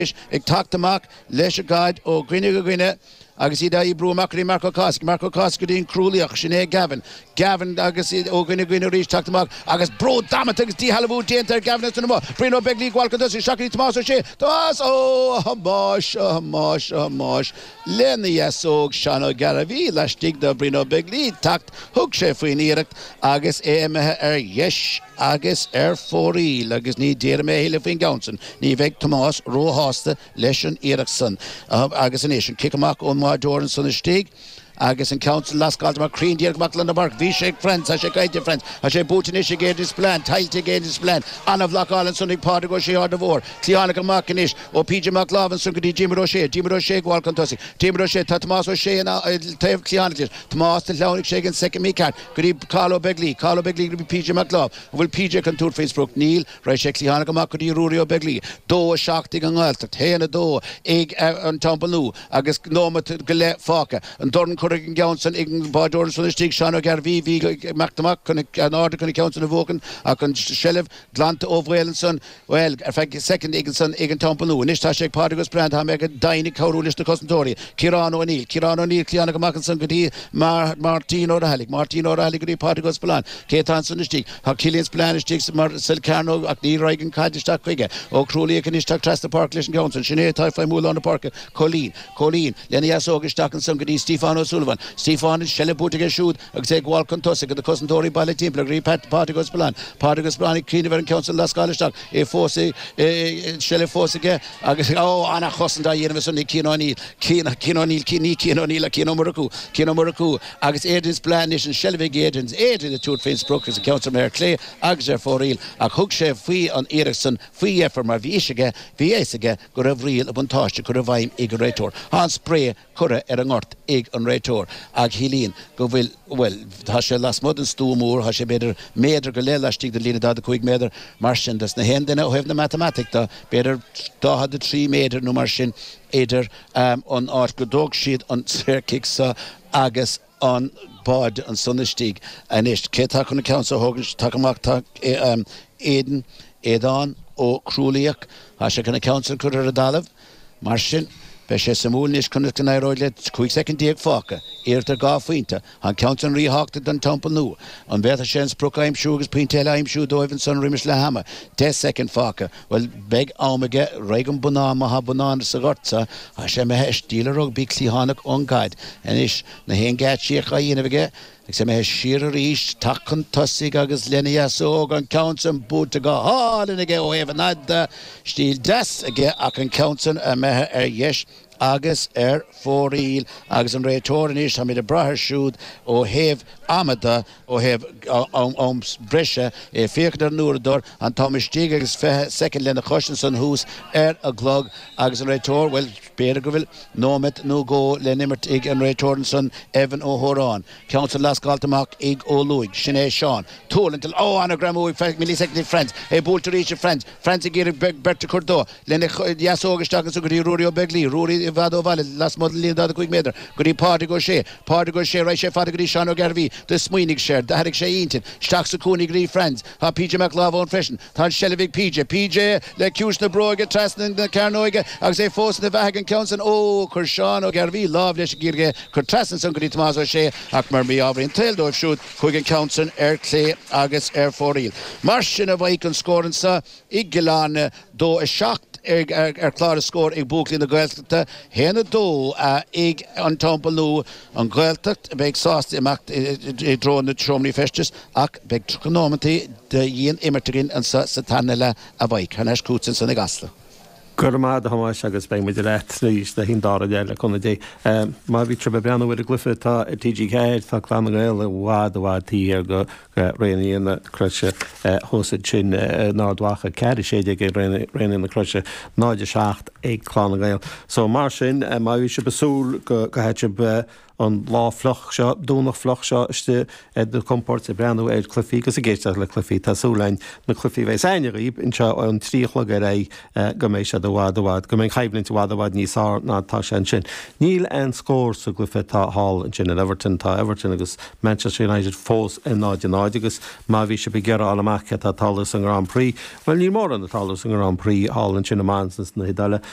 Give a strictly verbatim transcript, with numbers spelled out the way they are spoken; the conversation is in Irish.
Ag teacht amach leis an gcaid ó dhuine go duine agus iad á brú amach go dtí Marc Ó Cathasaigh, Marc Ó Cathasaigh go dtí an Crualaoich, sin é Gavin, Gavin agus ó dhuine go duine arís teacht amach agus brú damanta agus díshealbhú déanta ar Gavin ansan amuigh. Brian Ó Beaglaoich ag gabháil chun tosaigh, isteach go dtí Tomás Ó Sé, Tomás! Ó, a Thomáis, a Thomáis, a Thomáis, lena dheasóg Seán Ó Gairbhí laistigh de Bhrian Ó Beaglaoich teacht, thug sé faoin iarracht agus é imithe ar dheis agus ar fóraoil agus ní déarfaidh mé a thuilleadh faoin gceann san, ní bheidh Tomás róshásta leis an iarracht san. Agus anois an cic amach ón mbáideoir ansan istigh agus an ceann san lascáilte amach cruinn díreach amach lár na páirce. Bhí sé ag Franz, tá sé caillte ag Franz, tá sé buaite anois ag Aidan Spillane, tuillte ag Aidan Spillane. An-bhlocáil ansan ag Pádraig Ó Sé Ard a' Mhóir. Cliathánach amach anois ó PJ Mac Láimh ansan go dtí Diarmuid Ó Sé. Diarmuid Ó Sé ag gabháil chun tosaigh. Diarmuid Ó Sé, tá Tomás Ó Sé ina taobh cliathánach leis. Tomás, do shleamhnaigh sé ag an soicind mícheart go dtí Cathal Ó Beaglaoich. Cathal Ó Beaglaoich go dtí PJ Mac Láimh. An bhfuil PJ chun tabhairt faoin sprioc? Níl. Raghaidh sé cliathánach amach go dtí Ruairí Ó Beaglaoich. Dó a seacht ag an nGaeltacht, haon a dó ag an Teampall Nua agus nóimeat go leith fágtha. An dorn curtha ag an gceann san ag an báideoir ansan istigh, Seán Ó Gairbhí. Bhí ag imeacht amach chun in airde chun an ceann san a bhuachan ach an tseilbh glanta ó bhaol ansan, bhuel, ar feadh soicind ag ansan ag an Teampall Nua. Anois tá sé ag Pádraig Ó Spiolláin, tá mé go deimhin ag cabhrú leis na cosantóirí. Ciarán Ó Neill, Ciarán Ó Neill, cliathánach amach ansan go dtí Máirtín Ó Raghallaigh, Máirtín Ó Raghallaigh go dtí Pádraig Ó Spiolláin. Cé atá ansan istigh? Tá Cillian Spillane istigh mar sa chearnóg ach ní raghaidh an chaid isteach chuige. Ó Crualaoich anois teacht trasna páirce leis an gceann san. Sin é atá ag feidhmiú i lár na páirce. Cóilín. Cóilín lena dheasóg isteach ansan go dtí Stiofán Ó Súilleabháin. Stiofán, an seilbh buaite aige siúd agus é ag gabháil chun tosaigh na cosantóirí bailithe timpeall go dtí Pat, Pádraig Ó Spiolláin. Pádraig Ó Spiolláin ag cuimhneamh ar an gceann san lascáil isteach. É fós i, seilbh fós aige agus, ó, ana-chosaint á dhéanamh ansan ag Cian O'Neill. Cian, Cian O'Neill, Cian, ní Cian O'Neill ach Cian Ó Murchú. Cian Ó Murchú agus Aidan Spillane anois, an seilbh ag Aidan. Aidan ag tabhairt faoin sprioc agus an ceann san ar clé agus ar fóraoil ach thug sé faoi an iarracht san faoi dheifir mar bhí fhios aige, bhí a fhios aige go raibh riail an bhuntáiste curtha i bhfeidhm ag an réiteoir. Tá an spré curtha ar an ngort ag an réiteoir ach shílínn go bhfuil, bhuel, tá sé lasmuigh den stua mór, tá sé b'fhéidir méadar go leith laistigh den líne daichead a cúig méadar, mar sin dos na haon duine ó thaobh na matamaitice de, b'fhéidir daichead a trí méadar nó mar sin idir an áit go dtóg siad an saorchic seo agus an báide ansan istigh. Anois, cé atá chun an ceann seo a thógaint? Tá amach, tá Aidan, Aodán Ó Crualaoich, tá sé chun an ceann san a chur ar an dtalamh. Mar sin, beidh sé suimiúil anois conas go n-éireoidh le cúig soicind déag fágtha, iarracht ar dhá phointe. Tá an ceann san ríthábhachtach don Teampall Nua. An bhféadfadh sé an sprioc a aimsiú agus pointe eile a aimsiú dóibh ansan roimis leath ama? Deich soicind fágtha. Bhuel, beidh am aige. Raghaidh an bonnán, má thá bonnán sa ghort so, tá sé imithe i stíl an rugbaí cliathánach ón gcaid. Anois, na haon geáitsíocht á dhéanamh aige, agus imithe siar arís, teacht chun tosaigh agus lena dheasóg, an ceann san buailte go hálainn aige ó thaobh an fhaid de, stíl deas aige ach an ceann san imithe ar dheis agus ar fóraoil agus an réiteoir anois, táimid ag brath air siúd ó thaobh ama de, ó thaobh am breise, é ag féachaint ar an uaireadóir, an t-am istigh agus fiche soicind lena chois ansan thuas ar an gclog agus an réiteoir, bhuel, b'fhéidir go bhfuil nóiméad nó dhó le n-imirt ag an réiteoir ansan, Evan Ó hÓráin. Ceann san lascáilte amach ag Ó Lúing. Sin é Seán. Tuirlingt, ó, an-ghreamú ag millisoicind ag Franz. É buailte arís ag Franz. Franz ag iarraidh beirt a chur dó. Lena dheasóg isteach ansan go dtí Ruairí Ó Beaglaoi. Ruairí i bhfad ó bhaile, lasmuigh den líne daichead a cúig méadar, go dtí Pádraig Ó Sé. Pádraig Ó Sé, raghaidh sé fada go dtí Seán Ó Gairbhí. Do smaoinigh sé air. D'athraigh sé a intinn. Isteach sa chúinne go dtí Franz. Tá PJ Mac Láimh ann freisin. Tá an tseilbh ag PJ. PJ le ciumhais na bróige trasna na cearnóige agus é fós ina bheathaidh an ceann san. Ó! Chuir Seán Ó Gairbhí lámh leis ag iarraidh é chur trasna ansan go dtí Tomás Ó Sé ach mar mí-ádh an tsaoil dóibh siúd chuaigh an ceann san ar clé agus ar fóraoil. Mar sin a Mhaidhc an scór anso i gCill Airne, dó a seacht ar chlár na scór ag buachaillí na Gaeltachta, haon a dó ag an Teampall Nua, an Ghaeltacht a bheidh sásta imeacht i dtreo na seomraí feistis ach beidh tríocha nóimeantaí de dhian-imirt againn anso sa tarna leath a Mhaidhc. Thar n-ais chugatsa ansan i gCasla. Go raibh maith agat a Thomáis agus beidh muid leat arís le haghaidh an dara leath le cúnamh Dé. Má bhí sibh ag breathnú ar an gcluiche atá ar T G ceathair, tá Clann na nGael i bhfad i bhfad taobh thiar de Raonaithe na Croise thuas ansin in Ard Mhacha, ceathair a sé déag ag Raonaithe na Croise, náid a seacht ag Clann na nGael. So mar sin, má bhí sibh ag súil go gcaithfidh sibh an lá fliuch seo, Domhnach fliuch seo istigh ar do chompord ag breathnú ar chluichí agus ag éisteacht le cluichí, tá súil againn na cluichí a bheas againne dhaoib anseo ón trí a chlog ar aghaidh go mbeidh siad i bhfad i bhfad, go mbeidh an choimhlint i bhfad i bhfad níos fearr ná atá sé ansin. Níl aon scór sa gcluiche atá thall ansin in Everton, tá Everton agus Manchester United fós ar náid a náid agus má bhí sibh ag iarraidh a fháil amach cé atá ag tarlú sa nGrand Prix, bhuel níl mórán ag tarlú sa nGrand Prix thall ansin i Monza na hIodáile.